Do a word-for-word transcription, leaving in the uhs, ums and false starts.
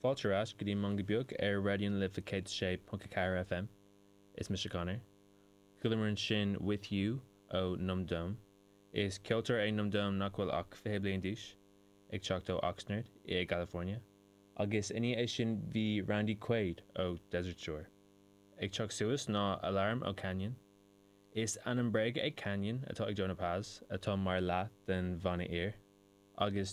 Fáilte ar ais go dtí Meangadh Beag ar Raidió na Life céad sé ponc a ceathair FM. Is mise Conor. Chualamar ansin With You ó Numb Dome. Is ceoltóir é Numb Dome nach bhfuil ach fiche bliain d'aois, ag teacht ó Oxnard i gCalifornia. Agus i ndiaidh é sin bhí Randy Quaid ó Desert Shore. Ag teacht suas ná Alarm ó Canyon. Is ainm bréige é Canyon atá ag Jonah Paz atá mar leath den bhanna Aor. Agus